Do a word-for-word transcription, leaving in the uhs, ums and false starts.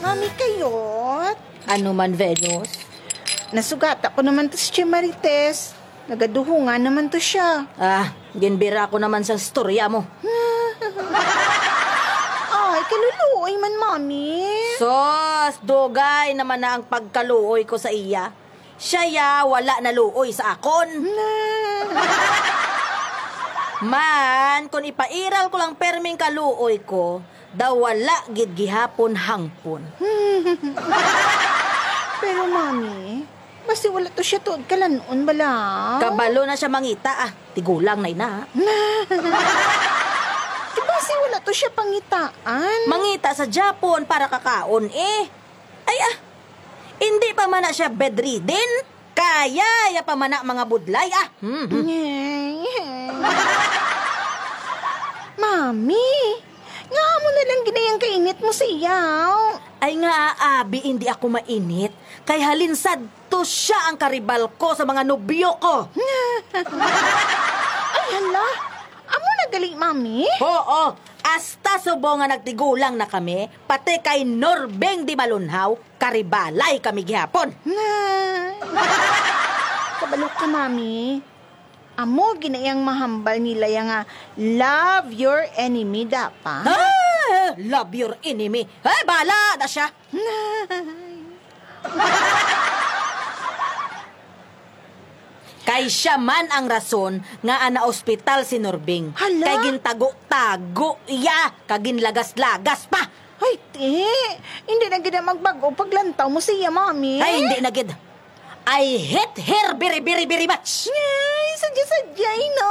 Mami Kayot. Ano man, Venus? Nasugata ko naman to si Tia Marites. Nagaduhungan naman to siya. Ah, ginbira ko naman sa storya mo. Ay, kaluluoy man, Mami. Sos, dugay naman na ang pagkaluoy ko sa iya. Siya ya wala naluoy sa akon. Man, kung ipairal ko lang perming kaluoy ko, daw wala gid gihapon hangpon. Pero, Mami, basi wala to siya tuod kalan-on bala. Kabalo na siya mangita, ah. Tigulang na ina. Basi wala to siya pangitaan. Mangita sa Japon para kakaon, eh. Ay, ah. Hindi pa man na siya bedridden. Kaya ya pa man na mga budlay, ah. Hmm. Mami, nga amo na lang ginayang kainit mo siya. Ay nga, abi, hindi ako mainit. Kay halin sadto siya ang karibal ko sa mga nobyo ko. Ay, hala. Amo na gali, Mami? Oo. Hasta subong nga nagtigulang na kami, pati kay Norbeng Di Malunhaw, karibalay kami gihapon. Kabalo ka, Mami. Amo ginayang mahambal nila ya nga love your enemy, dapa. Ah, love your enemy. Eh, bala na siya. Kay siya man ang rason nga ana ospital si Norbing. Hala? Kay gintago-tago iya, kag ginlagas-lagas pa. Ay, ti, hindi na gid na magbag-o paglantaw mo siya, Mami. Ay, hindi na gid. I hate her very, very, very much. Ay, sadya-sadya, no?